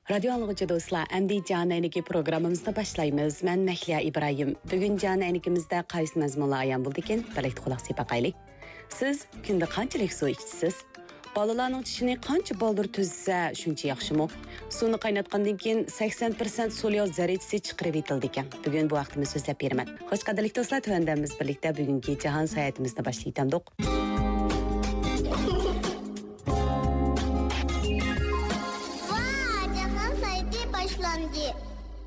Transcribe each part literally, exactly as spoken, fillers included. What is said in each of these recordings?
رادىيو ئاڭلىغۇچى دوستلار، ئەمدى جان ئەينىكى پروگراممىمىزنى باشلايمىز. مەن مەھلىيا ئىبراھىم. بۈگۈن جان ئەينىكىمىزدە قايسى مەزمۇنلار ئايان بولىدىكىن؟ بىرلىكتە قۇلاق سېلىپ باقايلى. سىز كۈندە قانچىلىك سۇ ئىچىسىز؟ بالىلارنىڭ چىشىنى قانچە بالدۇر تۈزسە، شۇنچە ياخشىمۇ؟ سۇنى قايناتقاندىن كېيىن سەكسەن پىرسەنت سولياۋ زەررىچىسى چىقىرىۋېتىلىدىكەن. بۈگۈن بۇ ھەقتە مەن سۆزلەپ بېرىمەن. خوش، قەدىرلىك دوستلار، تۆۋەندە بىز بىرلىكتە بۈگۈنكى جاھان ساياھىتىمىزنى باشلايتتۇق. ۋا، جاھان سايتى باشلاندى.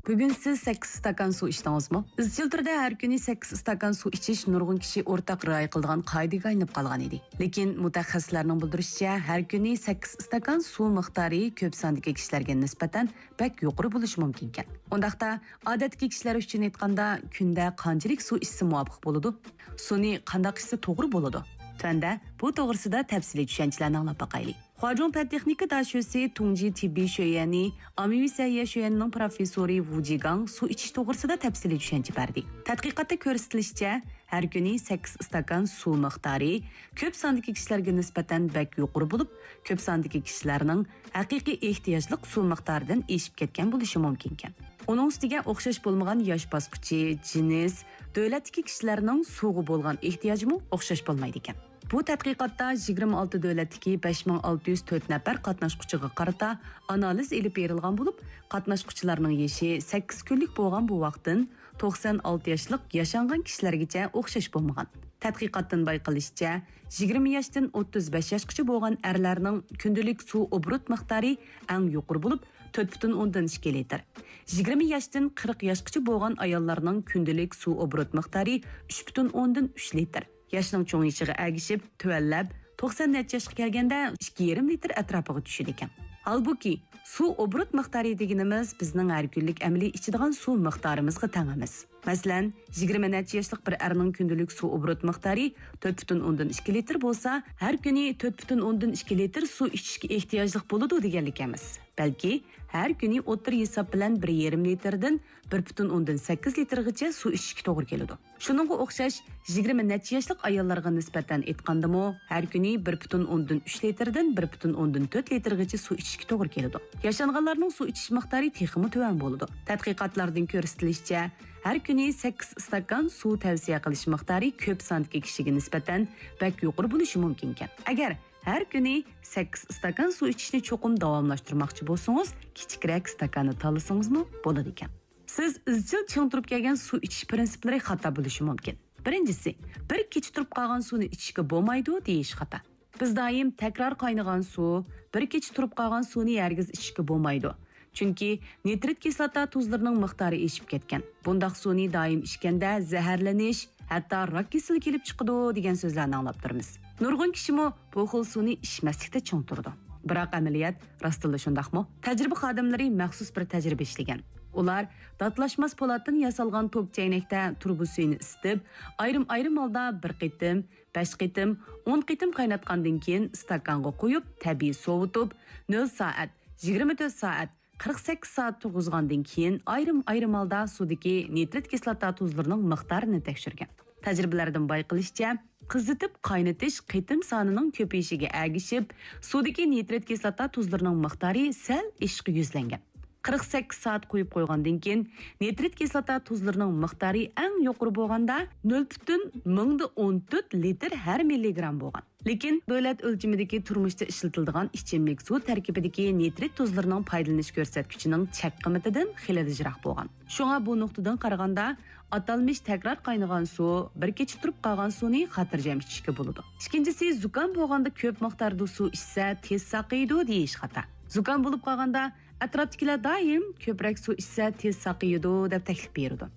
بۈگۈن سىز سەككىز ئىستاكان سۇ ئىچتىڭىزمۇ؟ ئىزچىل تۈردە ھەر كۈنى سەككىز ئىستاكان سۇ ئىچىش نۇرغۇن كىشى ئورتاق رىئايە قىلىدىغان قائىدىگە ئايلىنىپ قالغان ئىدى. لېكىن مۇتەخەسسىسلەرنىڭ بىلدۈرۈشىچە، ھەر كۈنى سەككىز ئىستاكان سۇ مىقدارى كۆپ ساندىكى كىشىلەرگە نىسبەتەن بەك يۇقىرى بولۇشى مۇمكىنكەن. ئۇنداقتا، ئادەتتىكى كىشىلەر ئۈچۈن ئېيتقاندا، كۈندە قانچىلىك سۇ ئىچسە مۇۋاپىق بولىدۇ؟ سۇنى قانداق ئىچسە توغرا بولىدۇ؟ تۆۋەندە بۇ توغرىسىدا تەپسىلىي چۈشەنچىلەرنى ئاڭلاپ باقايلى. خۇاجۇڭ پەن تېخنىكا داشۆسى تۇڭجى تېببىي شۆيۈەنى ئاممىۋى سەھىيە شۆيۈەنىنىڭ پروفېسسورى ۋۇ جىگاڭ سۇ ئىچىش توغرىسىدا تەپسىلىي چۈشەنچە بەردى. تەتقىقاتتا كۆرسىتىلىشىچە، ھەر كۈنى سەككىز ئىستاكان سۇ مىقدارى كۆپ ساندىكى كىشىلەرگە نىسبەتەن بەك يۇقىرى بولۇپ، كۆپ ساندىكى كىشىلەرنىڭ ھەقىقىي ئېھتىياجلىق سۇ مىقدارىدىن ئېشىپ كەتكەن بولۇشى مۇمكىنكەن. ئۇنىڭ ئۈستىگە ئوخشاش بولمىغان ياش باسقۇچى، جىنس، دۆلەتتىكى كىشىلەرنىڭ سۇغا بولغان ئېھتىياجىمۇ ئوخشاش بولمايدىكەن. بۇ تەتقىقاتتا يىگىرمە ئالتە دۆلەتتىكى بەش مىڭ ئالتە يۈز تۆت نەپەر قاتناشقۇچىغا قارىتا ئانالىز ئېلىپ بېرىلغان بولۇپ، قاتناشقۇچىلارنىڭ يېشى سەككىز كۈنلۈك بولغان بوۋاقتىن توقسان ئالتە ياشلىق ياشانغان كىشىلەرگىچە ئوخشاش بولمىغان. تەتقىقاتتىن بايقىلىشىچە، يىگىرمە ياشتىن ئوتتۇز بەش ياشقىچە بولغان ئەرلەرنىڭ كۈندىلىك سۇ ئوبوروت مىقدارى ئەڭ يۇقىرى بولۇپ، تۆت پۈتۈن ئوندىن ئىككى لىتىر. يىگىرمە ياشتىن قىرىق ياشقىچە بولغان ئاياللارنىڭ كۈندىلىك سۇ ئوبوروت مىقدارى ئۈچ پۈتۈن ئوندىن ئۈچ لىتىر. ياشنىڭ چوڭىيىشىغا ئەگىشىپ، تۆۋەنلەپ، توقسان نەچچە ياشقا كەلگەندە ئىككى يېرىم لىتىر ئەتراپىغا چۈشىدىكەن. ھالبۇكى، سۇ ئوبوروت مىقدارى دېگىنىمىز بىزنىڭ ھەر كۈنلۈك ئەمەلىي ئىچىدىغان سۇ مىقدارىمىزغا تەڭ ئەمەس. مەسىلەن، يىگىرمە نەچچە ياشلىق بىر ئەرنىڭ كۈندىلىك سۇ ئوبوروت مىقدارى تۆت پۈتۈن ئوندىن ئىككى لىتىر بولسا، ھەر كۈنى تۆت پۈتۈن ئوندىن ئىككى لىتىر سۇ ئىچىشكە ئېھتىياجلىق بولىدۇ دېگەنلىك ئەمەس. بەلكى ھەر كۈنى ئوتتۇرا ھېساب بىلەن بىر يېرىم لىتىردىن بىر پۈتۈن ئوندىن سەككىز لىتىرغىچە سۇ ئىچىشكە توغرا كېلىدۇ. شۇنىڭغا ئوخشاش، يىگىرمە نەچچە ياشلىق ئاياللارغا نىسبەتەن ئېيتقاندىمۇ، ھەر كۈنى بىر پۈتۈن ئوندىن ئۈچ لىتىردىن بىر پۈتۈن ئوندىن تۆت لىتىرغىچە سۇ ئىچىشكە توغرا كېلىدۇ. ياشانغانلارنىڭ سۇ ئىچىش مىقدارى تېخىمۇ تۆۋەن بولىدۇ. تەتقىقاتلاردىن كۆرسىتىلىشىچە، ھەر كۈنى سەككىز ئىستاكان سۇ تەۋسىيە قىلىش مىقدارى كۆپ ساندىكى كىشىگە نىسبەتەن بەك يۇقىرى بولۇشى مۇمكىنكەن. ئەگەر ھەر كۈنى سەككىز ئىستاكان سۇ ئىچىشنى چوقۇم داۋاملاشتۇرماقچى بولسىڭىز، كىچىكرەك ئىستاكاننى تاللىسىڭىزمۇ بولىدىكەن. سىز ئىزچىل چىڭ تۇرۇپ كەلگەن سۇ ئىچىش پىرىنسىپلىرى خاتا بولۇشى مۇمكىن. بىرىنچىسى، بىر كېچە تۇرۇپ قالغان سۇنى ئىچىشكە بولمايدۇ دېيىش خاتا. بىز دائىم تەكرار قاينىغان سۇ، بىر كېچە تۇرۇپ قالغان سۇنى ھەرگىز ئىچىشكە بولمايدۇ. چۈنكى نىترىت كىسلاتا تۇزلىرىنىڭ مىقدارى ئېشىپ كەتكەن. بۇنداق سۇنى دائىم ئىچكەندە زەھەرلىنىش، ھەتتا راك كېسىلى كېلىپ چىقىدۇ دېگەن سۆزلەرنى ئاڭلاپ تۇرىمىز. نۇرغۇن كىشىمۇ بۇ خىل سۇنى ئىچمەسلىكتە چىڭ تۇرىدۇ. بىراق ئەمەلىيەت راستتىنلا شۇنداقمۇ؟ تەجرىبە خادىملىرى مەخسۇس بىر تەجرىبە ئىشلىگەن. ئۇلار داتلاشماس پولاتتىن ياسالغان توك چەينەكتە تۇرۇبا سۈيىنى ئىسسىتىپ، ئايرىم-ئايرىم ھالدا بىر قېتىم، بەش قېتىم، ئون قېتىم قايناتقاندىن كېيىن ئىستاكانغا قۇيۇپ، تەبىئىي سوۋۇتۇپ، نۆل سائەت، يىگىرمە تۆت سائەت، قىرىق سەككىز سائەت تۇرغۇزغاندىن كېيىن، ئايرىم-ئايرىم ھالدا سۇدىكى نىترىت كىسلاتا تۇزلىرىنىڭ مىقدارىنى تەكشۈرگەن. تەجرىبىلەردىن بايقىلىشىچە، قىزىتىپ قاينىتىش قېتىم سانىنىڭ كۆپىيىشىگە ئەگىشىپ، سۇدىكى نىترىت كىسلاتا تۇزلىرىنىڭ مىقدارى سەل ئېشىشقا يۈزلەنگەن. قىرىق سەككىز سائەت قويۇپ قويغاندىن كېيىن، نىترىت كىسلاتا تۇزلىرىنىڭ مىقدارى ئەڭ يۇقىرى بولغاندا، نۆل پۈتۈن مىڭدا ئون تۆت لىتىر ھەر مىللىگرام بولغان. لېكىن دۆلەت ئۆلچىمىدىكى تۇرمۇشتا ئىشلىتىلىدىغان ئىچىملىك سۇ تەركىبىدىكى نىترىت تۇزلىرىنىڭ پايدىلىنىش كۆرسەتكۈچىنىڭ چەك قىممىتىدىن خېلىلا يىراق بولغان. شۇڭا بۇ نۇقتىدىن قارىغاندا، ئاتالمىش تەكرار قاينىغان سۇ، بىر كېچە تۇرۇپ قالغان سۇنى خاتىرجەم ئىچىشكە بولىدۇ. ئىككىنچىسى، زۇكام بولغاندا كۆپ مىقداردا سۇ ئىچسە، تېز ساقىيىدۇ دېيىش خاتا. زۇكام بولۇپ قالغاندا، ئەتراپتىكىلەر دائىم كۆپرەك سۇ ئىچسە تېز ساقىيىدۇ دەپ تەكلىپ بېرىدۇ.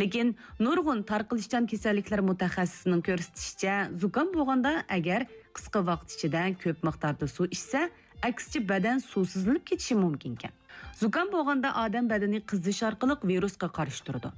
لېكىن نۇرغۇن تارقىلىشچان كېسەللىكلەر مۇتەخەسسىسىنىڭ كۆرسىتىشىچە، زۇكام بولغاندا ئەگەر قىسقا ۋاقىت ئىچىدە كۆپ مىقداردا سۇ ئىچسە، ئەكسىچە بەدەن سۇسىزلىنىپ كېتىشى مۇمكىنكەن. زۇكام بولغاندا ئادەم بەدىنى قىزىش ئارقىلىق ۋىرۇسقا قارشى تۇرىدۇ.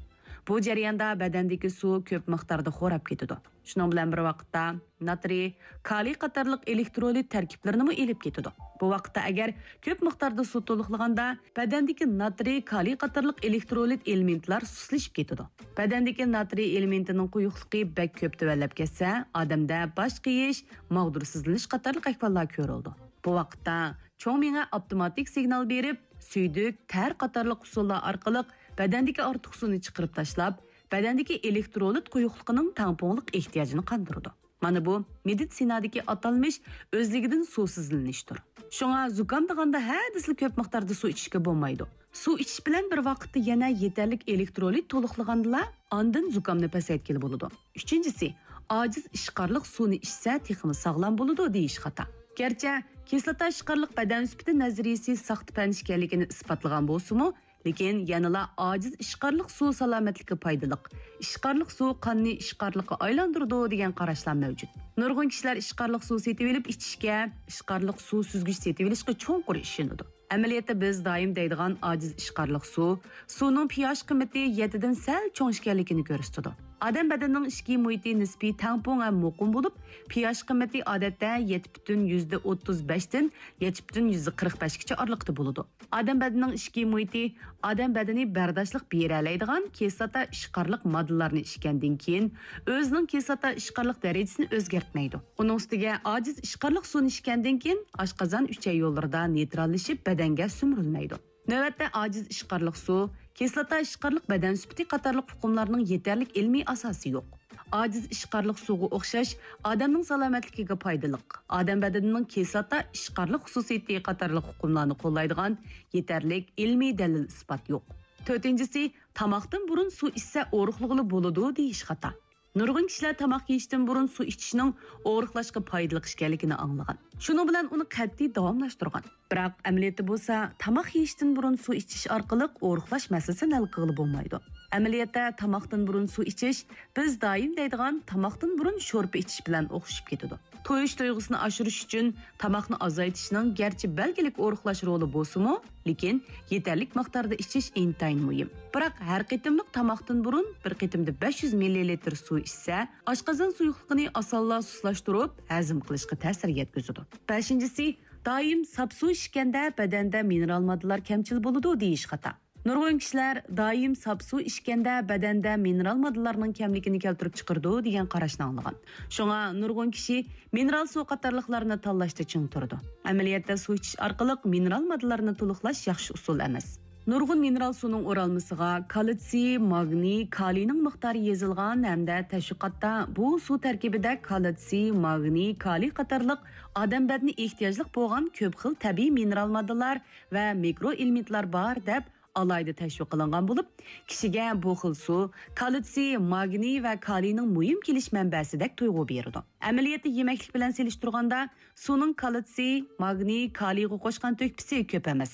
بۇ جەرياندا بەدەندىكى سۇ كۆپ مىقداردا خوراپ كېتىدۇ. شۇنىڭ بىلەن بىر ۋاقىتتا، ناترىي، كالىي قاتارلىق ئېلېكترولىت تەركىبلىرىنىمۇ ئېلىپ كېتىدۇ. بۇ ۋاقىتتا ئەگەر كۆپ مىقداردا سۇ تولۇقلىغاندا، بەدەندىكى ناترىي، كالىي قاتارلىق ئېلېكترولىت ئېلېمېنتلار سۇسلىشىپ كېتىدۇ. بەدەندىكى ناترىي ئېلېمېنتىنىڭ قويۇقلۇقى بەك كۆپ تۆۋەنلەپ كەتسە، ئادەمدە باش قېيىش، ماغدۇرسىزلىنىش قاتارلىق ئەھۋاللار كۆرۈلىدۇ. بۇ ۋاقىتتا چوڭ مېڭە ئاپتوماتىك سىگنال بېرىپ، سۈيدۈك، تەر قاتارلىق ئۇسۇللار ئارقىلىق بەدەندىكى ئارتۇق سۇنى چىقىرىپ تاشلاپ، بەدەندىكى ئېلېكترولىت قويۇقلۇقىنىڭ تەڭپۇڭلۇق ئېھتىياجىنى قاندۇرىدۇ. مانا بۇ مېدىتسىنادىكى ئاتالمىش ئۆزلۈكىدىن سۇسىزلىنىشتۇر. شۇڭا زۇكامدىغاندا ھە دېسىلا كۆپ مىقداردا سۇ ئىچىشكە بولمايدۇ. سۇ ئىچىش بىلەن بىر ۋاقىتتا يەنە يېتەرلىك ئېلېكترولىت تولۇقلىغاندىلا، ئاندىن زۇكامنى پەسەيتكىلى بولىدۇ. ئۈچىنچىسى، ئاجىز ئىشقارلىق سۇنى ئىچسە تېخىمۇ ساغلام بولىدۇ دېيىش خاتا. گەرچە كىسلاتا ئىشقارلىق بەدەن سۈپىتى نەزەرىيىسى ساختا پەن ئىكەنلىكىنى ئىسپاتلىغان بولسىمۇ، لېكىن يەنىلا ئاجىز ئىشقارلىق سۇ سالامەتلىككە پايدىلىق، ئىشقارلىق سۇ قاننى ئىشقارلىققا ئايلاندۇرىدۇ دېگەن قاراشلار مەۋجۇت. نۇرغۇن كىشىلەر ئىشقارلىق سۇ سېتىۋېلىپ ئىچىشكە، ئىشقارلىق سۇ سۈزگۈچ سېتىۋېلىشقا چوڭقۇر ئىشىنىدۇ. ئەمەلىيەتتە بىز دائىم دەيدىغان ئاجىز ئىشقارلىق سۇ، سۇنىڭ پىياش قىممىتى يەتتىدىن سەل چوڭ ئىكەنلىكىنى كۆرسىتىدۇ. ئادەم بەدىنىنىڭ ئىچكى مۇھىتى نىسپىي تەڭپۇڭ ھەم مۇقىم بولۇپ، پىياش قىممىتى ئادەتتە يەتتە پۈتۈن يۈزدە ئوتتۇز بەشتىن يەتتە پۈتۈن يۈزدە قىرىق بەشكىچە ئارىلىقتا بولىدۇ. ئادەم بەدىنىنىڭ ئىچكى مۇھىتى ئادەم بەدىنى بەرداشلىق بېرەلەيدىغان كىسلاتا ئىشقارلىق ماددىلارنى ئىچكەندىن كېيىن، ئۆزىنىڭ كىسلاتا ئىشقارلىق دەرىجىسىنى ئۆزگەرتمەيدۇ. ئۇنىڭ ئۈستىگە ئاجىز ئىشقارلىق سۇنى ئىچكەندىن كېيىن، ئاشقازان ئۈچەي يوللىرىدا نېيتراللىشىپ، بەدەنگە سۈمۈرۈلمەيدۇ. نۆۋەتتە ئاجىز ئىشقارلىق سۇ، كىسلاتا ئىشقارلىق بەدەن سۈپىتى قاتارلىق ئۇقۇملارنىڭ يېتەرلىك ئىلمىي ئاساسى يوق. ئاجىز ئىشقارلىق سۇغا ئوخشاش ئادەمنىڭ سالامەتلىكىگە پايدىلىق، ئادەم بەدىنىنىڭ كىسلاتا ئىشقارلىق خۇسۇسىيىتى قاتارلىق ئۇقۇملارنى قوللايدىغان يېتەرلىك ئىلمىي دەلىل ئىسپات يوق. تۆتىنچىسى، تاماقتىن بۇرۇن سۇ ئىچسە ئورۇقلىغىلى بولىدۇ دېيىش خاتا. نۇرغۇن كىشىلەر تاماق يېيىشتىن بۇرۇن سۇ ئىچىشنىڭ ئورۇقلاشقا پايدىلىق ئىكەنلىكىنى ئاڭلىغان. شۇنىڭ بىلەن ئۇنى قەتئىي داۋاملاشتۇرغان. بىراق ئەمەلىيەتتە بولسا، تاماق يېيىشتىن بۇرۇن سۇ ئىچىش ئارقىلىق ئورۇقلاش مەسىلىسىنى ھەل قىلغىلى بولمايدۇ. ئەمەلىيەتتە تاماقتىن بۇرۇن سۇ ئىچىش بىز دائىم دەيدىغان تاماقتىن بۇرۇن شورپا ئىچىش بىلەن ئوخشىشىپ كېتىدۇ. تويۇش تۇيغۇسىنى ئاشۇرۇش ئۈچۈن تاماقنى ئازايتىشنىڭ گەرچە بەلگىلىك ئورۇقلاش رولى بولسىمۇ، لېكىن يېتەرلىك مىقداردا ئىچىش ئىنتايىن مۇھىم. بىراق ھەر قېتىملىق تاماقتىن بۇرۇن بىر قېتىمدا بەش يۈز مىللىلىتىر سۇ ئىچسە، ئاشقازان سۇيۇقلۇقىنى ئاسانلا سۇسلاشتۇرۇپ، ھەزىم قىلىشقا تەسىر يەتكۈزىدۇ. بەشىنچىسى، دائىم ساپ سۇ ئىچكەندە بەدەندە مىنېرال ماددىلار كەمچىل بولىدۇ دېيىش خاتا. نۇرغۇن كىشىلەر دائىم ساپ سۇ ئىچكەندە بەدەندە مىنېرال ماددىلارنىڭ كەملىكىنى كەلتۈرۈپ چىقىرىدۇ دېگەن قاراشنى ئاڭلىغان. شۇڭا نۇرغۇن كىشى مىنېرال سۇ قاتارلىقلارنى تاللاشتا چىڭ تۇرىدۇ. ئەمەلىيەتتە سۇ ئىچىش ئارقىلىق مىنېرال ماددىلارنى تولۇقلاش ياخشى ئۇسۇل ئەمەس. نۇرغۇن مىنېرال سۇنىڭ ئورالمىسىغا كالتسىي، ماگنىي، كالىينىڭ مىقدارى يېزىلغان ھەمدە تەشۋىقاتتا بۇ سۇ تەركىبىدە كالتسىي، ماگنىي، كالىي قاتارلىق ئادەم بەدىنى ئېھتىياجلىق بولغان كۆپ خىل تەبىئىي مىنېرال ماددىلار ۋە مىكرو ئېلېمېنتلار بار دەپ ئالاھىدە تەشۋىق قىلىنغان بولۇپ، كىشىگە بۇ خىل سۇ كالتسىي، ماگنىي ۋە كالىينىڭ مۇھىم كېلىش مەنبەسىدەك تۇيغۇ بېرىدۇ. ئەمەلىيەتتە يېمەكلىك بىلەن سېلىشتۇرغاندا، سۇنىڭ كالتسىي، ماگنىي، كالىيغا قوشقان تۆھپىسى كۆپ ئەمەس.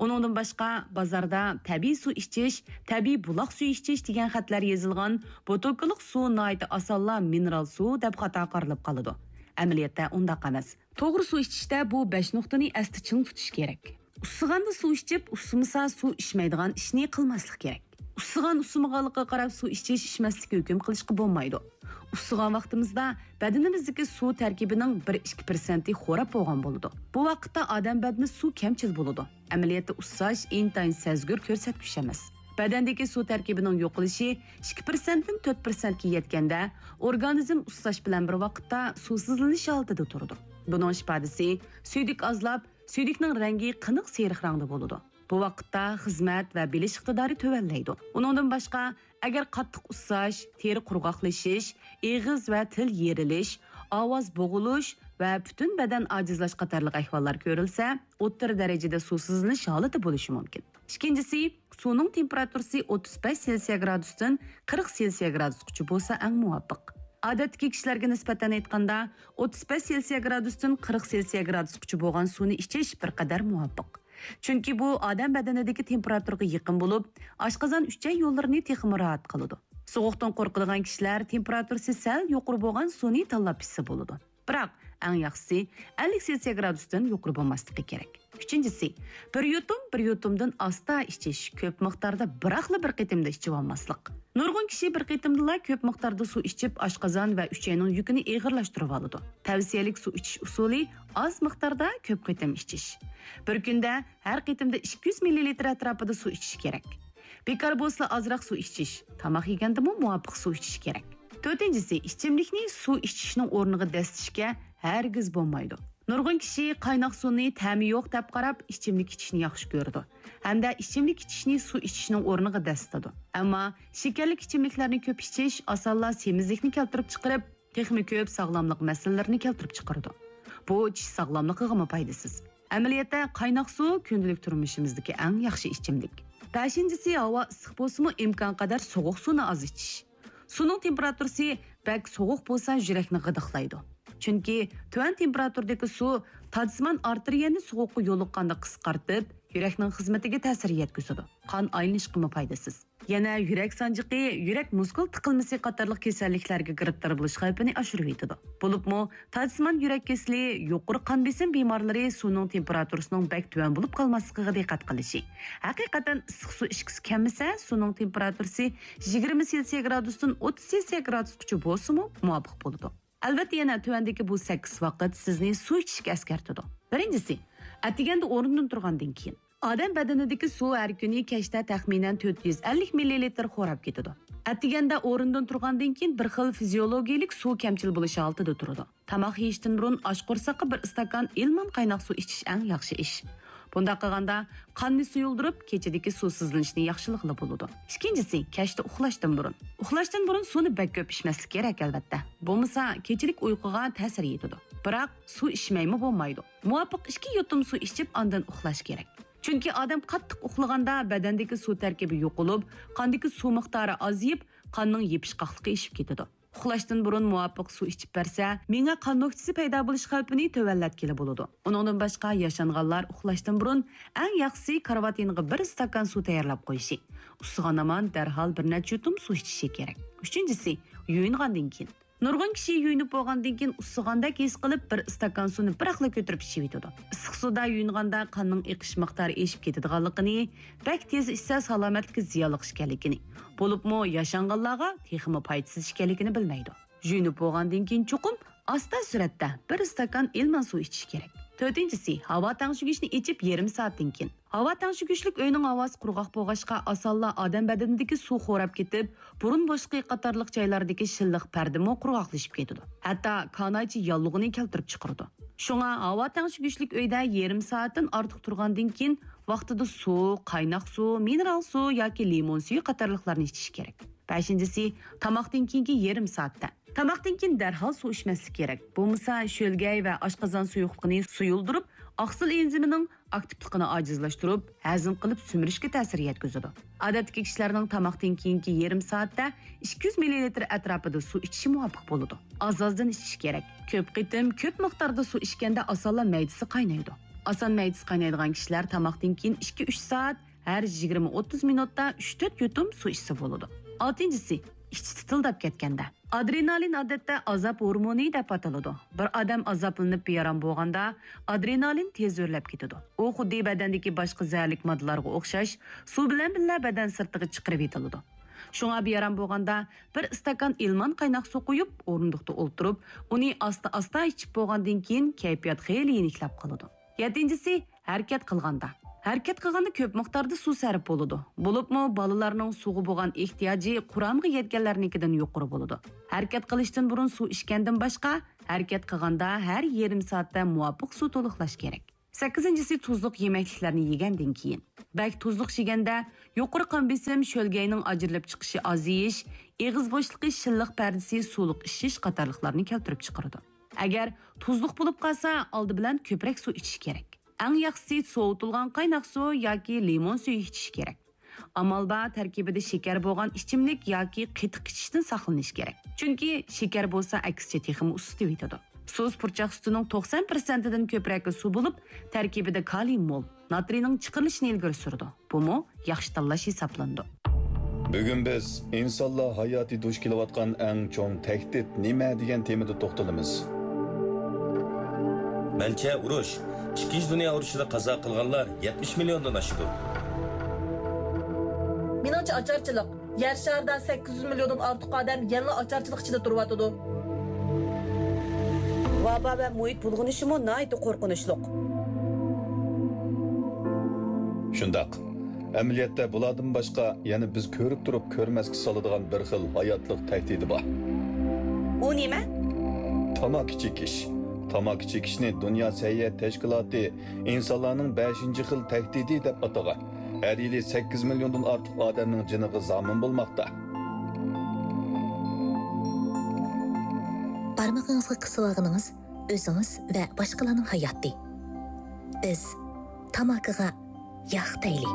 ئۇنىڭدىن باشقا، بازاردا تەبىئىي سۇ ئىچىش، تەبىئىي بۇلاق سۈيى ئىچىش دېگەن خەتلەر يېزىلغان بوتۇلكىلىق سۇ ناھايىتى ئاسانلا مىنېرال سۇ دەپ خاتا قارىلىپ قالىدۇ. ئەمەلىيەتتە ئۇنداق ئەمەس. توغرا سۇ ئىچىشتە بۇ بەش نۇقتىنى ئەستە چىڭ تۇتۇش كېرەك. ئۇسسىغاندا سۇ ئىچىپ، ئۇسسىمىسا سۇ ئىچمەيدىغان ئىشنى قىلماسلىق كېرەك. ئۇسسىغان ئۇسسىمىغانلىقىغا قاراپ سۇ ئىچىش ئىچمەسلىككە ھۆكۈم قىلىشقا بولمايدۇ. ئۇسسىغان ۋاقتىمىزدا بەدىنىمىزدىكى سۇ تەركىبىنىڭ بىر ئىككى پىرسەنتى خوراپ بولغان بولىدۇ. بۇ ۋاقىتتا ئادەم بەدىنى سۇ كەمچىل بولىدۇ. ئەمەلىيەتتە ئۇسساش ئىنتايىن سەزگۈر كۆرسەتكۈچ ئەمەس. بەدەندىكى سۇ تەركىبىنىڭ يوقىلىشى ئىككى پىرسەنتتىن تۆت پىرسەنتكە يەتكەندە، ئورگانىزم ئۇسساش بىلەن بىر ۋاقىتتا سۇسىزلىنىش ھالىتىدە تۇرىدۇ. بۇنىڭ ئىپادىسى سۈيدۈك ئازلاپ، سۈيدۈكنىڭ رەڭگى قېنىق سېرىق رەڭدە بولىدۇ. بۇ ۋاقىتتا خىزمەت ۋە بىلىش ئىقتىدارى تۆۋەنلەيدۇ. ئۇنىڭدىن باشقا، ئەگەر قاتتىق ئۇسساش، تېرە قۇرغاقلىشىش، ئېغىز ۋە تىل يېرىلىش، ئاۋاز بوغۇلۇش ۋە پۈتۈن بەدەن ئاجىزلاش قاتارلىق ئەھۋاللار كۆرۈلسە، ئوتتۇرا دەرىجىدە سۇسىزلىنىش ھالىتى بولۇشى مۇمكىن. ئىككىنچىسى، سۇنىڭ تېمپېراتۇرىسى ئوتتۇز بەش سېلسىيە گرادۇستىن قىرىق سېلسىيە گرادۇسقىچە بولسا ئەڭ مۇۋاپىق. ئادەتتىكى كىشىلەرگە نىسبەتەن ئېيتقاندا، ئوتتۇز بەش سېلسىيە گرادۇستىن قىرىق سېلسىيە گرادۇسقىچە بولغان سۇنى ئىچىش بىر قەدەر مۇۋاپىق. چۈنكى بۇ ئادەم بەدىنىدىكى تېمپېراتۇرىغا يېقىن بولۇپ، ئاشقازان ئۈچەي يوللىرىنى تېخىمۇ راھەت قىلىدۇ. سوغۇقتىن قورقىدىغان كىشىلەر تېمپېراتۇرىسى سەل يۇقىرى بولغان سۇنى تاللاپ ئىچسە بولىدۇ. بىراق، ئەڭ ياخشىسى ئەللىك سېلسىيە گرادۇستىن يۇقىرى بولماسلىقى كېرەك. ئۈچىنچىسى، بىر يۇتۇم، بىر يۇتۇمدىن ئاستا ئىچىش، كۆپ مىقداردا بىراقلا بىر قېتىمدا ئىچىۋالماسلىق. نۇرغۇن كىشى بىر قېتىمدىلا كۆپ مىقداردا سۇ ئىچىپ، ئاشقازان ۋە ئۈچەينىڭ يۈكىنى ئېغىرلاشتۇرۇۋالىدۇ. تەۋسىيەلىك سۇ ئىچىش ئۇسۇلى ئاز مىقداردا كۆپ قېتىم ئىچىش. بىر كۈندە ھەر قېتىمدا ئىككى يۈز مىللىلىتىر ئەتراپىدا سۇ ئىچىش كېرەك. بىكار بولسىلا ئازراق سۇ ئىچىش، تاماق يېگەندىمۇ مۇۋاپىق سۇ ئىچىش كېرەك. تۆتىنچىسى، ئىچىملىكنى سۇ ئىچىشنىڭ ئورنىغا دەسسىشكە ھەرگىز بولمايدۇ. نۇرغۇن كىشى قايناق سۇنى تەمى يوق دەپ قاراپ، ئىچىملىك ئىچىشنى ياخشى كۆرىدۇ ھەمدە ئىچىملىك ئىچىشنى سۇ ئىچىشنىڭ ئورنىغا دەسسىتىدۇ. ئەمما شېكەرلىك ئىچىملىكلەرنى كۆپ ئىچىش ئاسانلا سېمىزلىكنى كەلتۈرۈپ چىقىرىپ، تېخىمۇ كۆپ ساغلاملىق مەسىلىلىرىنى كەلتۈرۈپ چىقىرىدۇ. بۇ چىش ساغلاملىقىغىمۇ پايدىسىز. ئەمەلىيەتتە، قايناق سۇ كۈندىلىك تۇرمۇشىمىزدىكى ئەڭ ياخشى ئىچىملىك. بەشىنچىسى، ھاۋا ئىسسىق بولسىمۇ، ئىمكانقەدەر سوغۇق سۇنى ئاز ئىچىش. سۇنىڭ تېمپېراتۇرىسى بەك سوغۇق بولسا، يۈرەكنى غىدىقلايدۇ. چۈنكى تۆۋەن تېمپېراتۇرىدىكى سۇ تادىسىمان ئارتېرىيەنى سوغۇققا يولۇققاندا قىسقارتىپ، يۈرەكنىڭ خىزمىتىگە تەسىر يەتكۈزىدۇ. قان ئايلىنىشقىمۇ پايدىسىز. يەنە يۈرەك سانجىقى، يۈرەك مۇسكۇل تىقىلمىسى قاتارلىق كېسەللىكلەرگە گىرىپتار بولۇش خەۋپىنى ئاشۇرۇۋېتىدۇ. بولۇپمۇ، تادىسىمان يۈرەك كېسىلى، يۇقىرى قان بېسىم بىمارلىرى سۇنىڭ تېمپېراتۇرىسىنىڭ بەك تۆۋەن بولۇپ قالماسلىقىغا دىققەت قىلىشى، ھەقىقەتەن ئىسسىق سۇ ئىچكۈسى كەلمىسە، سۇنىڭ تېمپېراتۇرىسى يىگىرمە سېلسىيە گرادۇستىن ئوتتۇز سېلسىيە گرادۇسقىچە بولسىمۇ مۇۋاپىق بولىدۇ. ئەلۋەتتە، يەنە تۆۋەندىكى بۇ سەككىز ۋاقىت سىزنى سۇ ئىچىشكە ئەسكەرتىدۇ. بىرىنچىسى، ئەتىگەندە ئورنىدىن تۇرغاندىن كېيىن. ئادەم بەدىنىدىكى سۇ ھەر كۈنى كەچتە تەخمىنەن تۆت يۈز ئەللىك مىللىلىتىر خوراپ كېتىدۇ. ئەتىگەندە ئورنىدىن تۇرغاندىن كېيىن بىر خىل فىزىيولوگىيىلىك سۇ كەمچىل بولۇش ھالىتىدە تۇرىدۇ. تاماق يېيىشتىن بۇرۇن ئاچ قورساققا بىر ئىستاكان ئىلمان قايناق سۇ ئىچىش ئەڭ ياخشى ئىش. بۇنداق قىلغاندا قاننى سۇيۇلدۇرۇپ، كېچىدىكى سۇسىزلىنىشنى ياخشىلىغىلى بولىدۇ. ئىككىنچىسى، كەچتە ئۇخلاشتىن بۇرۇن. ئۇخلاشتىن بۇرۇن سۇنى بەك كۆپ ئىچمەسلىك كېرەك، ئەلۋەتتە. بولمىسا، كېچىلىك ئۇيقۇغا تەسىر يېتىدۇ. بىراق، سۇ ئىچمەيمۇ بولمايدۇ. مۇۋاپىق ئىككى يۇتۇم سۇ ئىچىپ، ئاندىن ئۇخلاش كېرەك. چۈنكى ئادەم قاتتىق ئۇخلىغاندا بەدەندىكى سۇ تەركىبى يوقىلىپ، قاندىكى سۇ مىقدارى ئازىيىپ، قاننىڭ يېپىشقاقلىقى ئېشىپ كېتىدۇ. ئۇخلاشتىن بۇرۇن مۇۋاپىق سۇ ئىچىپ بەرسە، مېڭە قان نۆكچىسى پەيدا بولۇش خەۋپىنى تۆۋەنلەتكىلى بولىدۇ. ئۇنىڭدىن باشقا، ياشانغانلار ئۇخلاشتىن بۇرۇن ئەڭ ياخشىسى كارىۋات يېنىغا بىر ئىستاكان سۇ تەييارلاپ قويۇشى، ئۇسسىغان ھامان دەرھال بىر نەچچە يۇتۇم سۇ ئىچىشى كېرەك. ئۈچىنچىسى، يۇيۇنغاندىن كېيىن. نۇرغۇن كىشى يۇيۇنۇپ بولغاندىن كېيىن ئۇسسىغاندەك ھېس قىلىپ، بىر ئىستاكان سۇنى بىراقلا كۆتۈرۈپ ئىچىۋېتىدۇ. ئىسسىق سۇدا يۇيۇنغاندا قاننىڭ ئېقىش مىقدارى ئېشىپ كېتىدىغانلىقىنى، بەك تېز ئىچسە سالامەتلىككە زىيانلىق ئىكەنلىكىنى، بولۇپمۇ ياشانغانلارغا تېخىمۇ پايدىسىز ئىكەنلىكىنى بىلمەيدۇ. يۇيۇنۇپ بولغاندىن كېيىن چوقۇم ئاستا سۈرئەتتە بىر ئىستاكان ئىلمان سۇ ئىچىش كېرەك. تۆتىنچىسى، ھاۋا تەڭشىگۈچنى ئېچىپ يېرىم سائەتتىن كېيىن. ھاۋا تەڭشىگۈچلۈك ئۆينىڭ ھاۋاسى قۇرغاق بولغاچقا، ئاسانلا ئادەم بەدىنىدىكى سۇ خوراپ كېتىپ، بۇرۇن بوشلۇقى قاتارلىق جايلاردىكى شىللىق پەردىمۇ قۇرغاقلىشىپ كېتىدۇ. ھەتتا كانايچە ياللۇغىنى كەلتۈرۈپ چىقىرىدۇ. شۇڭا ھاۋا تەڭشىگۈچلۈك ئۆيدە يېرىم سائەتتىن ئارتۇق تۇرغاندىن كېيىن، ۋاقتىدا سۇ، قايناق سۇ، مىنېرال سۇ ياكى لىمون سۈيى قاتارلىقلارنى ئىچىش كېرەك. بەشىنچىسى، تاماقتىن كېيىنكى يېرىم سائەتتە. تاماقتىن كېيىن دەرھال سۇ ئىچمەسلىك كېرەك. بولمىسا، شۆلگەي ۋە ئاشقازان سۇيۇقلۇقىنى سۇيۇلدۇرۇپ، ئاقسىل ئېنزىمىنىڭ ئاكتىپلىقىنى ئاجىزلاشتۇرۇپ، ھەزىم قىلىپ سۈمۈرۈشكە تەسىر يەتكۈزىدۇ. ئادەتتىكى كىشىلەرنىڭ تاماقتىن كېيىنكى يېرىم سائەتتە ئىككى يۈز مىللىلىتىر ئەتراپىدا سۇ ئىچىشى مۇۋاپىق بولىدۇ. ئاز-ئازدىن ئىچىش كېرەك. كۆپ قېتىم، كۆپ مىقداردا سۇ ئىچكەندە ئاسانلا مەيدىسى قاينايدۇ. ئاسان مەيدىسى قاينايدىغان كىشىلەر تاماقتىن كېيىن ئىككى ئۈچ سائەت، ھەر يىگىرمە ئوتتۇز مىنۇتتا ئۈچ تۆت يۇتۇم سۇ ئىچسە بولىدۇ. ئالتىنچىسى، ئىچى تىتىلداپ كەتكەندە. ئادرېنالىن ئادەتتە ئازاب ھورمونى دەپ ئاتىلىدۇ. بىر ئادەم ئازابلىنىپ بىئارام بولغاندا، ئادرېنالىن تېز ئۆرلەپ كېتىدۇ. ئۇ خۇددى بەدەندىكى باشقا زەھەرلىك ماددىلارغا ئوخشاش سۇ بىلەن بىللە بەدەن سىرتىغا چىقىرىۋېتىلىدۇ. شۇڭا بىئارام بولغاندا بىر ئىستاكان ئىلمان قايناق سۇ قۇيۇپ، ئورۇندۇقتا ئولتۇرۇپ، ئۇنى ئاستا-ئاستا ئىچىپ بولغاندىن كېيىن كەيپىيات خېلى يېنىكلەپ قالىدۇ. يەتتىنچىسى، ھەرىكەت قىلغاندا. ھەرىكەت قىلغاندا كۆپ مىقداردا سۇ سەرپ بولىدۇ. بولۇپمۇ بالىلارنىڭ سۇغا بولغان ئېھتىياجى قۇرامىغا يەتكەنلەرنىڭكىدىن يۇقىرى بولىدۇ. ھەرىكەت قىلىشتىن بۇرۇن سۇ ئىچكەندىن باشقا، ھەرىكەت قىلغاندا ھەر يېرىم سائەتتە مۇۋاپىق سۇ تولۇقلاش كېرەك. سەككىزىنچىسى، تۇزلۇق يېمەكلىكلەرنى يېگەندىن كېيىن. بەك تۇزلۇق يېگەندە يۇقىرى قان بېسىم، شۆلگەينىڭ ئاجرىلىپ چىقىشى ئازىيىش، ئېغىز بوشلۇقى شىللىق پەردىسى سۇلۇق ئىششىش قاتارلىقلارنى كەلتۈرۈپ چىقىرىدۇ. ئەگەر تۇزلۇق بولۇپ قالسا، ئالدى بىلەن كۆپرەك سۇ ئىچىش كېرەك. ئەڭ ياخشىسى سوۋۇتۇلغان قايناق سۇ ياكى لىمون سۈيى ئىچىش كېرەك. ئامال بار تەركىبىدە شېكەر بولغان ئىچىملىك ياكى قېتىق ئىچىشتىن ساقلىنىش كېرەك. چۈنكى شېكەر بولسا ئەكسىچە تېخىمۇ ئۇسسىتىۋېتىدۇ. سۇس پۇرچاق سۈتىنىڭ توقسان پىرسەنتىدىن كۆپرەكى سۇ بولۇپ، تەركىبىدە كالىي مول، ناترىينىڭ چىقىرىلىشىنى ئىلگىرى سۈرىدۇ. بۇمۇ ياخشى تاللاش ھېسابلىنىدۇ. بۈگۈن بىز ئىنسانلار ھاياتى دۇچ كېلىۋاتقان ئەڭ چوڭ تەھدىت نېمە دېگەن تېمىدا توختىلىمىز. مەنچە، ئۇرۇش. ئىككىنچى دۇنيا ئۇرۇشىدا قازا قىلغانلار يەتمىش مىليوندىن ئاشىدۇ. مېنىڭچە، ئاچارچىلىق. يەر شارىدا سەككىز يۈز مىليوندىن ئارتۇق ئادەم يەنىلا ئاچارچىلىق ئىچىدە تۇرۇۋاتىدۇ. ۋابا ۋە مۇھىت بۇلغىنىشىمۇ ناھايىتى قورقۇنچلۇق. شۇنداق. ئەمەلىيەتتە بۇلاردىن باشقا يەنە بىز كۆرۈپ تۇرۇپ كۆرمەسكە سالىدىغان بىر خىل ھاياتلىق تەھدىتى بار. ئۇ نېمە؟ تاماكا چېكىش. تاماكا چېكىشنى دۇنيا سەھىيە تەشكىلاتى ئىنسانلارنىڭ بەشىنچى خىل تەھدىتى دەپ ئاتىغان. ھەر يىلى سەككىز مىليوندىن ئارتۇق ئادەمنىڭ جېنىغا زامىن بولماقتا. بارمىقىڭىزغا قىسىۋالغىنىڭىز ئۆزىڭىز ۋە باشقىلارنىڭ ھاياتى. بىز تاماكىغا ياق دەيلى.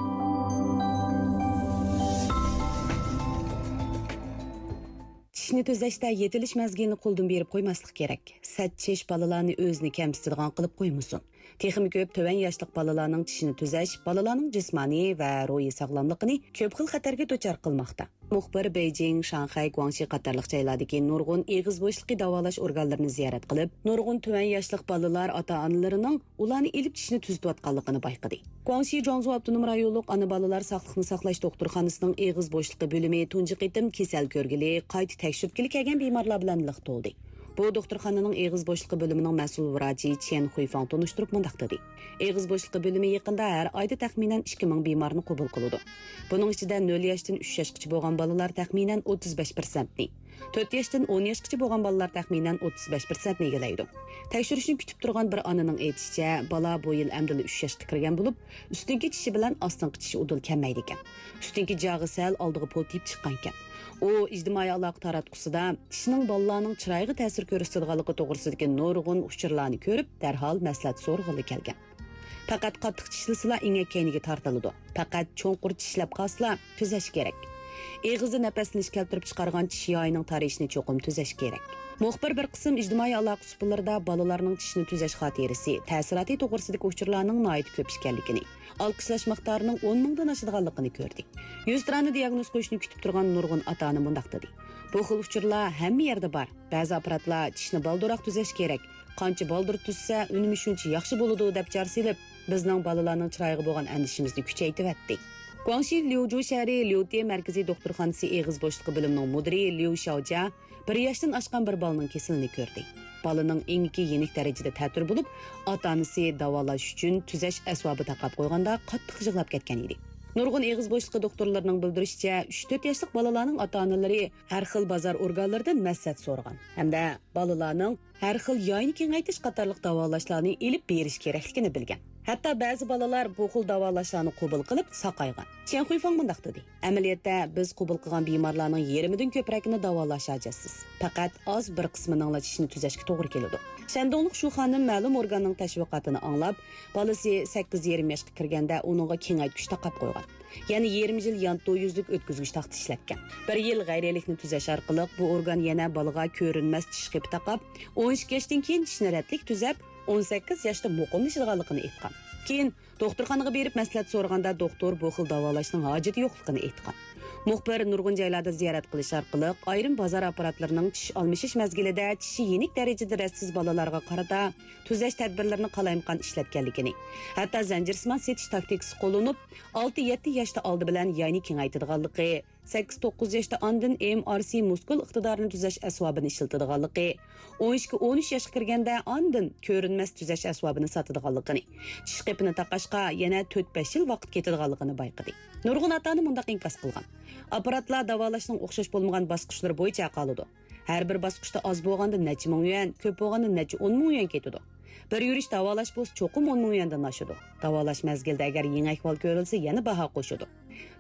چىشنى تۈزەشتە يېتىلىش مەزگىلىنى قولدىن بېرىپ قويماسلىق كېرەك. سەت چىش بالىلارنى ئۆزىنى كەمسىتىدىغان قىلىپ قويمىسۇن. تېخىمۇ كۆپ تۆۋەن ياشلىق بالىلارنىڭ چىشىنى تۈزەش بالىلارنىڭ جىسمانىي ۋە روھىي ساغلاملىقىنى كۆپ خىل خەتەرگە دۇچار قىلماقتا. مۇخبىر بېيجىڭ، شاڭخەي، گۇاڭشى قاتارلىق جايلاردىكى نۇرغۇن ئېغىز بوشلۇقى داۋالاش ئورگانلىرىنى زىيارەت قىلىپ، نۇرغۇن تۆۋەن ياشلىق بالىلار ئاتا-ئانىلىرىنىڭ ئۇلارنى ئېلىپ چىشنى تۈزىتىۋاتقانلىقىنى بايقىدى. گۇاڭشى جۇاڭزۇ ئاپتونوم رايونلۇق ئانا بالىلار ساقلىقنى ساقلاش دوختۇرخانىسىنىڭ ئېغىز بوشلۇقى بۆلۈمى تۇنجى قېتىم كېسەل كۆرگىلى، قايتا تەكشۈرتكىلى كەلگەن بىمارلار بىلەن لىق تولدى. بۇ دوختۇرخانىنىڭ ئېغىز بوشلۇقى بۆلۈمىنىڭ مەسئۇل ۋراچى چيەن خۇيفاڭ تونۇشتۇرۇپ مۇنداق دېدى: ئېغىز بوشلۇقى بۆلۈمى يېقىندا ھەر ئايدا تەخمىنەن ئىككى مىڭ بىمارنى قوبۇل قىلىدۇ. بۇنىڭ ئىچىدە نۆل ياشتىن ئۈچ ياشقىچە بولغان بالىلار تەخمىنەن ئوتتۇز بەش پىرسەنتنى، تۆت ياشتىن ئون ياشقىچە بولغان بالىلار تەخمىنەن ئوتتۇز بەش پىرسەنتنى ئىگىلەيدۇ. تەكشۈرۈشنى كۈتۈپ تۇرغان بىر ئانىنىڭ ئېيتىشىچە، بالا بۇ يىل ئەمدىلا ئۈچ ياشقا كىرگەن بولۇپ، ئۈستۈنكى چىشى بىلەن ئاستىنقى چىشى ئۇدۇل كەلمەيدىكەن. ئۈستۈنكى جاغى سەل ئالدىغا پولتىيىپ چىققانىكەن. ئۇ ئىجتىمائىي ئالاقە تاراتقۇسىدا چىشنىڭ بالىلارنىڭ چىرايىغا تەسىر كۆرسىتىدىغانلىقى توغرىسىدىكى نۇرغۇن ئۇچۇرلارنى كۆرۈپ، دەرھال مەسلىھەت سورىغىلى كەلگەن. پەقەت قاتتىق چىشلىسىلا ئېڭەك كەينىگە تارتىلىدۇ. پەقەت چوڭقۇر چىشلەپ قالسىلا تۈزەش كېرەك. ئېغىزدا نەپەسلىنىش كەلتۈرۈپ چىقارغان چىش يايىنىڭ تارىيىشىنى چوقۇم تۈزەش كېرەك. مۇخبىر بىر قىسىم ئىجتىمائىي ئالاقە سۇپىلىرىدا بالىلارنىڭ چىشنى تۈزەش خاتىرىسى، تەسىراتى توغرىسىدىكى ئۇچۇرلارنىڭ ناھايىتى كۆپ ئىكەنلىكىنى، ئالقىشلاش مىقدارىنىڭ ئون مىڭدىن ئاشىدىغانلىقىنى كۆردى. يۈزتۇرانە دىياگنوز قويۇشنى كۈتۈپ تۇرغان نۇرغۇن ئاتا-ئانا مۇنداق دېدى: بۇ خىل ئۇچۇرلار ھەممە يەردە بار. بەزى ئاپپاراتلار چىشنى بالدۇرراق تۈزەش كېرەك، قانچە بالدۇر تۈزسە، ئۈنۈمى شۇنچە ياخشى بولىدۇ، دەپ جار سېلىپ، بىزنىڭ بالىلارنىڭ چىرايىغا بولغان ئەندىشىمىزنى كۈچەيتىۋەتتى. گۇاڭشى ليۇجۇ شەھىرى ليۇتې مەركىزىي دوختۇرخانىسى ئېغىز بوشلۇقى بۆلۈمىنىڭ مۇدىرى ليۇ شياۋجيا بىر ياشتىن ئاشقان بىر بالىنىڭ كېسىلىنى كۆردى. بالىنىڭ ئېڭىكى يېنىك دەرىجىدە تەتۈر بولۇپ، ئاتا-ئانىسى داۋالاش ئۈچۈن تۈزەش ئەسۋابى تاقاپ قويغاندا قاتتىق يىغلاپ كەتكەن ئىدى. نۇرغۇن ئېغىز بوشلۇقى دوختۇرلىرىنىڭ بىلدۈرۈشىچە، ئۈچ تۆت ياشلىق بالىلارنىڭ ئاتا-ئانىلىرى ھەر خىل بازار ئورگانلىرىدىن مەسلىھەت سورىغان ھەمدە بالىلارنىڭ ھەر خىل ياينى كېڭەيتىش قاتارلىق داۋالاشلارنى ئېلىپ بېرىش كېرەكلىكىنى بىلگەن. ھەتتا بەزى بالىلار بۇ خىل داۋالاشلارنى قوبۇل قىلىپ ساقايغان. چيەن خۇيفاڭ مۇنداق دېدى: ئەمەلىيەتتە، بىز قوبۇل قىلغان بىمارلارنىڭ يېرىمىدىن كۆپرەكىنى داۋالاش ھاجەتسىز. پەقەت ئاز بىر قىسمىنىڭلا چىشىنى تۈزەشكە توغرا كېلىدۇ. شەندۇڭلۇق شۇ خانىم مەلۇم ئورگاننىڭ تەشۋىقاتىنى ئاڭلاپ، بالىسى سەككىز يېرىم ياشقا كىرگەندە ئۇنىڭغا كېڭەيتكۈچ تاقاپ قويغان. يەنە يېرىم يىل يانتۇ يۈزلۈك ئۆتكۈزگۈچ تاختا ئىشلەتكەن. بىر يىل غەيرىيلىكنى تۈزەش ئارقىلىق بۇ ئورگان يەنە بالىغا كۆرۈنمەس چىش قېپى تاقاپ، ئون ئىككى ياشتىن كېيىن چىشنى رەتلىك تۈزەپ، ئون سەككىز ياشتا مۇقىملىشىدىغانلىقىنى ئېيتقان. كېيىن دوختۇرخانىغا بېرىپ مەسلىھەت سورىغاندا، دوختۇر بۇ خىل داۋالاشنىڭ ھاجىتى يوقلۇقىنى ئېيتقان. مۇخبىر نۇرغۇن جايلاردا زىيارەت قىلىش ئارقىلىق، ئايرىم بازار ئاپپاراتلىرىنىڭ چىش ئالمىشىش مەزگىلىدە چىشى يېنىك دەرىجىدە رەتسىز بالىلارغا قارىتا تۈزەش تەدبىرلىرىنى قالايمىقان ئىشلەتكەنلىكىنى، ھەتتا زەنجىرسىمان سېتىش تاكتىكىسى قوللىنىپ، ئالتە يەتتە ياشتا ئالدى بىلەن ياينى كېڭەيتىدىغانلىقى، سەككىز توققۇز ياشتا ئاندىن ئېم ئار سى مۇسكۇل ئىقتىدارىنى تۈزەش ئەسۋابىنى ئىشلىتىدىغانلىقى، ئون ئىككى ئون ئۈچ ياشقا كىرگەندە ئاندىن كۆرۈنمەس تۈزەش ئەسۋابىنى ساتىدىغانلىقىنى، چىش قېپىنى تاقاشقا يەنە تۆت بەش يىل ۋاقىت كېتىدىغانلىقىنى بايقىدى. نۇرغۇن ئاتا-ئانا مۇنداق ئىنكاس قىلغان: ئاپپاراتلار داۋالاشنىڭ ئوخشاش بولمىغان باسقۇچلىرى بويىچە ھەق ئالىدۇ. ھەر بىر باسقۇچتا ئاز بولغاندا نەچچە مىڭ يۈەن، كۆپ بولغاندا نەچچە ئون مىڭ يۈەن كېتىدۇ. بىر يۈرۈش داۋالاش بولسا چوقۇم ئون مىڭ يۈەندىن ئاشىدۇ. داۋالاش مەزگىلىدە ئەگەر يېڭى ئەھۋال كۆرۈلسە، يەنە باھا قوشىدۇ.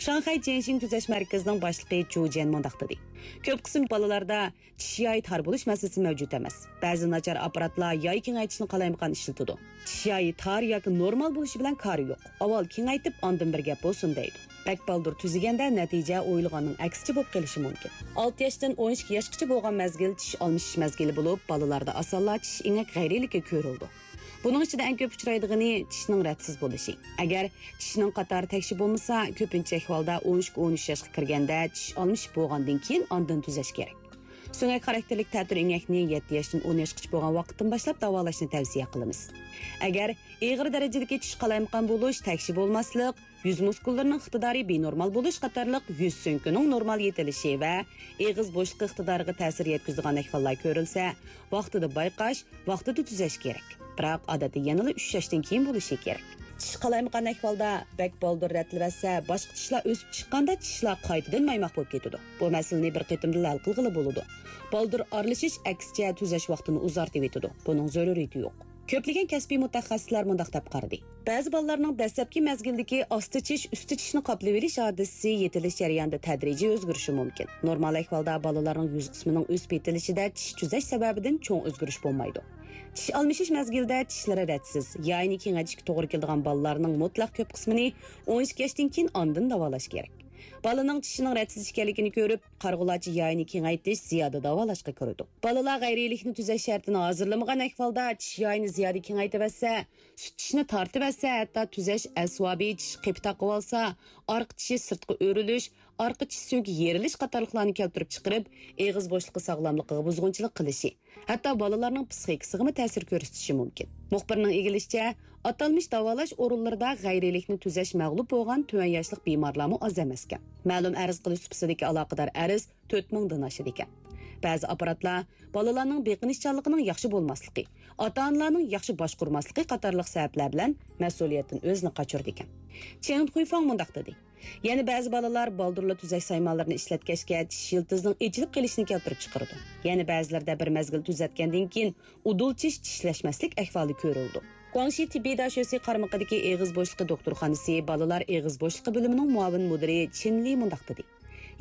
شاڭخەي جيەنشىڭ تۈزەش مەركىزىنىڭ باشلىقى چۇ جيەن مۇنداق دېدى: كۆپ قىسىم بالىلاردا چىش يايى تار بولۇش مەسىلىسى مەۋجۇت ئەمەس. بەزى ناچار ئاپپاراتلار ياي كېڭەيتىشنى قالايمىقان ئىشلىتىدۇ. چىش يايى تار ياكى نورمال بولۇشى بىلەن كارى يوق. ئاۋۋال كېڭەيتىپ، ئاندىن بىر گەپ بولسۇن دەيدۇ. بەك بالدۇر تۈزىگەندە نەتىجە ئويلىغاننىڭ ئەكسىچە بولۇپ قېلىشى مۇمكىن. ئالتە ياشتىن ئون ئىككى ياشقىچە بولغان مەزگىل چىش ئالمىشىش مەزگىلى بولۇپ، بالىلاردا ئاسانلا چىش ئېڭەك غەيرىيلىكى كۆرۈلىدۇ. بۇنىڭ ئىچىدە ئەڭ كۆپ ئۇچرايدىغىنى چىشنىڭ رەتسىز بولۇشى. ئەگەر چىشنىڭ قاتارى تەكشى بولمىسا، كۆپىنچە ئەھۋالدا ئون ئىككى ئون ئۈچ ياشقا كىرگەندە چىش ئالمىشىپ بولغاندىن كېيىن ئاندىن تۈزەش كېرەك. سۆڭەك خاراكتېرلىك تەتۈر ئېڭەكنى يەتتە ياشتىن ئون ياشقىچە بولغان ۋاقىتتىن باشلاپ داۋالاشنى تەۋسىيە قىلىمىز. ئەگەر ئېغىر دەرىجىدىكى چىش قالايمىقان بولۇش، تەكشى بولماسلىق، يۈز مۇسكۇللىرىنىڭ ئىقتىدارى بىنورمال بولۇش قاتارلىق يۈز سۆڭىكىنىڭ نورمال يېتىلىشى ۋە ئېغىز بوشلۇقى ئىقتىدارىغا تەسىر يەتكۈزىدىغان ئەھۋاللار كۆرۈلسە، ۋاقتىدا بايقاش، ۋاقتىدا تۈزەش كېرەك. بىراق، ئادەتتە يەنىلا ئۈچ ياشتىن كېيىن بولۇشى كېرەك. چىش قالايمىقان ئەھۋالدا بەك بالدۇر رەتلىۋەتسە، باشقا چىشلار ئۆسۈپ چىققاندا چىشلار قايتىدىن مايماق بولۇپ كېتىدۇ. بۇ مەسىلىنى بىر قېتىمدىلا ھەل قىلغىلى بولىدۇ. بالدۇر ئارىلىشىش ئەكسىچە تۈزەش ۋاقتىنى ئۇزارتىۋېتىدۇ. بۇنىڭ زۆرۈرىيىتى يوق. كۆپلىگەن كەسپىي مۇتەخەسسىسلەر مۇنداق دەپ قارىدى. بەزى بالىلارنىڭ دەسلەپكى مەزگىلدىكى ئاستا چىش، ئۈستى چىشنى قاپلىۋېلىش ھادىسىسى يېتىلىش جەريانىدا تەدرىجىي ئۆزگىرىشى مۇمكىن. نورمال ئەھۋالدا بالىلارنىڭ يۈز قىسمىنىڭ ئۆسۈپ يېتىلىشىدە چىش تۈزەش سەۋەبىدىن چوڭ ئۆزگىرىش بولمايدۇ. چىش ئالمىشىش مەزگىلىدە چىشلىرى رەتسىز، يايىنى كېڭەيتىشكە توغرا كېلىدىغان بالىلارنىڭ مۇتلەق كۆپ قىسمىنى ئون ئىككى ياشتىن كېيىن ئاندىن داۋالاش كېرەك. بالىنىڭ چىشىنىڭ رەتسىز ئىكەنلىكىنى كۆرۈپ، قارىغۇلارچە يايىنى كېڭەيتىش زىيادە داۋالاشقا كىرىدۇ. بالىلار غەيرىيلىكنى تۈزەش شەرتىنى ھازىرلىمىغان ئەھۋالدا چىش يايىنى زىيادە كېڭەيتىۋەتسە، سۈت چىشنى تارتىۋەتسە، ھەتتا تۈزەش ئەسۋابى چىش قېپى تاقىۋالسا، ئارقا چىشى سىرتقا ئۆرۈلۈش، ئارقا چىش سۆڭىكى يېرىلىش قاتارلىقلارنى كەلتۈرۈپ چىقىرىپ، ئېغىز بوشلۇقى ساغلاملىقىغا بۇزغۇنچىلىق قىلىشى، ھەتتا بالىلارنىڭ پىسخىكىسىغىمۇ تەسىر كۆرسىتىشى مۇمكىن. مۇخبىرنىڭ ئىگىلىشىچە، ئاتالمىش داۋالاش ئورۇنلىرىدا غەيرىيلىكنى تۈزەش مەغلۇپ بولغان تۆۋەن ياشلىق بىمارلارمۇ ئاز ئەمەسكەن. مەلۇم ئەرز قىلىش سۇپىسىدىكى ئالاقىدار ئەرز تۆت مىڭدىن ئاشىدىكەن. بەزى ئاپپاراتلار بالىلارنىڭ بېقىنىشچانلىقىنىڭ ياخشى بولماسلىقى، ئاتا-ئانىلارنىڭ ياخشى باشقۇرماسلىقى قاتارلىق سەۋەبلەر بىلەن مەسئۇلىيەتتىن ئۆزىنى قاچۇرىدىكەن. چېڭ خۇيفاڭ مۇنداق دېدى: يەنە بەزى بالىلار بالدۇرلا تۈزەش سايمانلىرىنى ئىشلەتكەچكە چىش يىلتىزىنىڭ ئېچىلىپ قېلىشىنى كەلتۈرۈپ چىقىرىدۇ. يەنە بەزىلىرىدە بىر مەزگىل تۈزەتكەندىن كېيىن ئۇدۇل چىش چىشلەشمەسلىك ئەھۋالى كۆرۈلىدۇ. گۇاڭشى تېببىي داشۆسى قارمىقىدىكى ئېغىز بوشلۇقى دوختۇرخانىسى بالىلار ئېغىز بوشلۇقى بۆلۈمىنىڭ مۇئاۋىن مۇدىرى چىن لى مۇنداق دېدى: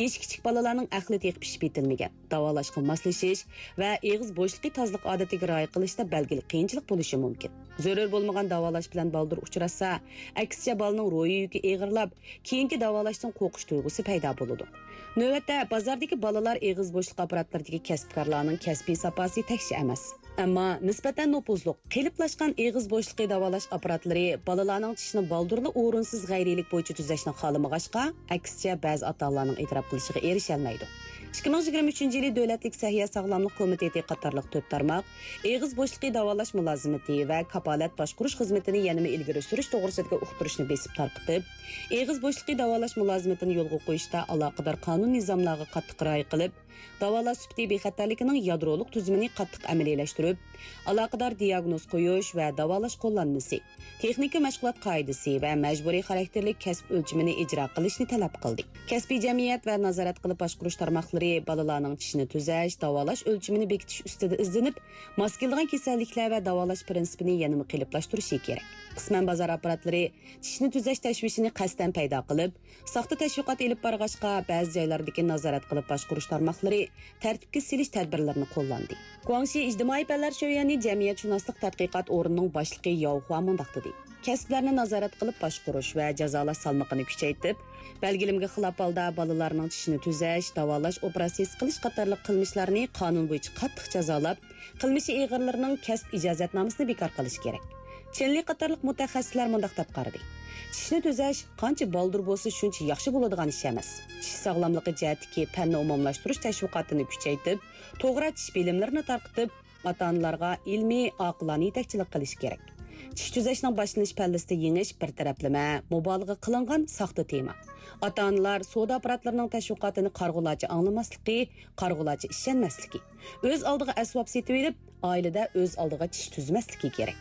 يېشى كىچىك بالىلارنىڭ ئەقلى تېخى پىشىپ يېتىلمىگەن، داۋالاشقا ماسلىشىش ۋە ئېغىز بوشلۇقى تازىلىق ئادىتىگە رىئايە قىلىشتا بەلگىلىك قىيىنچىلىق بولۇشى مۇمكىن. زۆرۈر بولمىغان داۋالاش بىلەن بالدۇر ئۇچراشسا، ئەكسىچە بالىنىڭ روھىي يۈكى ئېغىرلاپ، كېيىنكى داۋالاشتىن قورقۇش تۇيغۇسى پەيدا بولىدۇ. نۆۋەتتە بازاردىكى بالىلار ئېغىز بوشلۇق ئاپپاراتلىرىدىكى كەسىپكارلارنىڭ كەسپىي ساپاسى تەكشى ئەمەس. ئەمما نىسبەتەن نوپۇزلۇق، قېلىپلاشقان ئېغىز بوشلۇقى داۋالاش ئاپپاراتلىرى بالىلارنىڭ چىشىنى بالدۇرلا ئورۇنسىز غەيرىيلىك بويىچە تۈزەشنى خالىمىغاچقا، ئەكسىچە بەزى ئاتا-ئانىلارنىڭ ئېتىراپ قىلىشىغا ئېرىشەلمەيدۇ. ئىككى مىڭ يىگىرمە ئۈچىنچى يىلى دۆلەتلىك سەھىيە ساغلاملىق كومىتېتى قاتارلىق تۆت تارماق ئېغىز بوشلۇقى داۋالاش مۇلازىمىتى ۋە كاپالەت باشقۇرۇش خىزمىتىنى يەنىمۇ ئىلگىرى سۈرۈش توغرىسىدىكى ئۇقتۇرۇشنى بېسىپ تارقىتىپ، ئېغىز بوشلۇقى داۋالاش مۇلازىمىتىنى يولغا قويۇشتا ئالاقىدار قانۇن نىزاملارغا قاتتىق رىئايە قىلىپ، داۋالاش سۈپىتى بىخەتەرلىكىنىڭ يادرولۇق تۈزۈمىنى قاتتىق ئەمەلىيلەشتۈرۈپ، ئالاقىدار دىياگنوز قويۇش ۋە داۋالاش قوللانمىسى، تېخنىكا مەشغۇلات قائىدىسى ۋە مەجبۇرىي خاراكتېرلىك كەسىپ ئۆلچىمىنى ئىجرا قىلىشنى تەلەپ قىلدى. كەسپىي جەمئىيەت ۋە نازارەت قىلىپ باشقۇرۇش تارماقلىرى بالىلارنىڭ چىشىنى تۈزەش، داۋالاش ئۆلچىمىنى بېكىتىش ئۈستىدە ئىزدىنىپ، ماس كېلىدىغان كېسەللىكلەر ۋە داۋالاش پىرىنسىپىنى يەنىمۇ قېلىپلاشتۇرۇشى كېرەك. قىسمەن بازار ئاپپاراتلىرى چىشنى تۈزەش تەشۋىشىنى قەستەن پەيدا قىلىپ، ساختا تەشۋىقات ئېلىپ بارغاچقا، بەزى جايلاردىكى نازارەت قىلىپ باشقۇرۇش تارماقلىرى تەرتىپكە سېلىش تەدبىرلىرىنى قوللاندى. گۇاڭشى ئىجتىمائىي پەنلەر شۆيۈەنى جەمئىيەتشۇناسلىق تەتقىقات ئورنىنىڭ باشلىقى ياۋ خۇا مۇنداق دېدى: كەسىپلەرنى نازارەت قىلىپ باشقۇرۇش ۋە جازالاش سالمىقىنى كۈچەيتىپ، بەلگىلىمىگە خىلاپ ھالدا بالىلارنىڭ چىشىنى تۈزەش، داۋالاش ئوپېراتسىيىسى قىلىش قاتارلىق قىلمىشلارنى قانۇن بويىچە قاتتىق جازالاپ، قىلمىشى ئېغىرلىرىنىڭ كەسىپ ئىجازەتنامىسىنى بىكار قىلىش كېرەك. چېن لى قاتارلىق مۇتەخەسسىسلەر مۇنداق دەپ قارىدى: چىشنى تۈزەش قانچە بالدۇر بولسا، شۇنچە ياخشى بولىدىغان ئىش ئەمەس. چىش ساغلاملىقى جەھەتتىكى پەننى ئومۇملاشتۇرۇش تەشۋىقاتىنى كۈچەيتىپ، توغرا چىش بىلىملىرىنى تارقىتىپ، ئاتا-ئانىلارغا ئىلمىي، ئاقىلانە يېتەكچىلىك قىلىش كېرەك. چىش تۈزەشنىڭ باشلىنىش پەللىسىدە يېڭىش، بىر تەرەپلىمە، مۇبالىغە قىلىنغان ساختا تېما. ئاتا-ئانىلار سودا ئاپپاراتلىرىنىڭ تەشۋىقاتىنى قارىغۇلارچە ئاڭلىماسلىقى، قارىغۇلارچە ئىشەنمەسلىكى، ئۆز ئالدىغا ئەسۋاب سېتىۋېلىپ، ئائىلىدە ئۆز ئالدىغا چىش تۈزمەسلىكى كېرەك.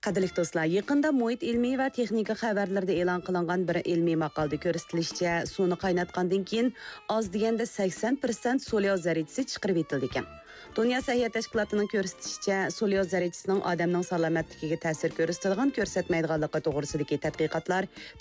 قەدىرلىك دوستلار، يېقىندا مۇھىت ئىلمىي ۋە تېخنىكا خەۋەرلىرىدە ئېلان قىلىنغان بىر ئىلمىي ماقالىدە كۆرسىتىلىشىچە، سۇنى قايناتقاندىن كېيىن ئاز دېگەندە سەكسەن پىرسەنت سولياۋ زەررىچىسى چىقىرىۋېتىلىدىكەن. دۇنيا سەھىيە تەشكىلاتىنىڭ كۆرسىتىشىچە، سولياۋ زەررىچىسىنىڭ ئادەمنىڭ سالامەتلىكىگە تەسىر كۆرسىتىدىغان، كۆرسەتمەيدىغانلىقى توغرىسىدىكى تەتقىقاتلار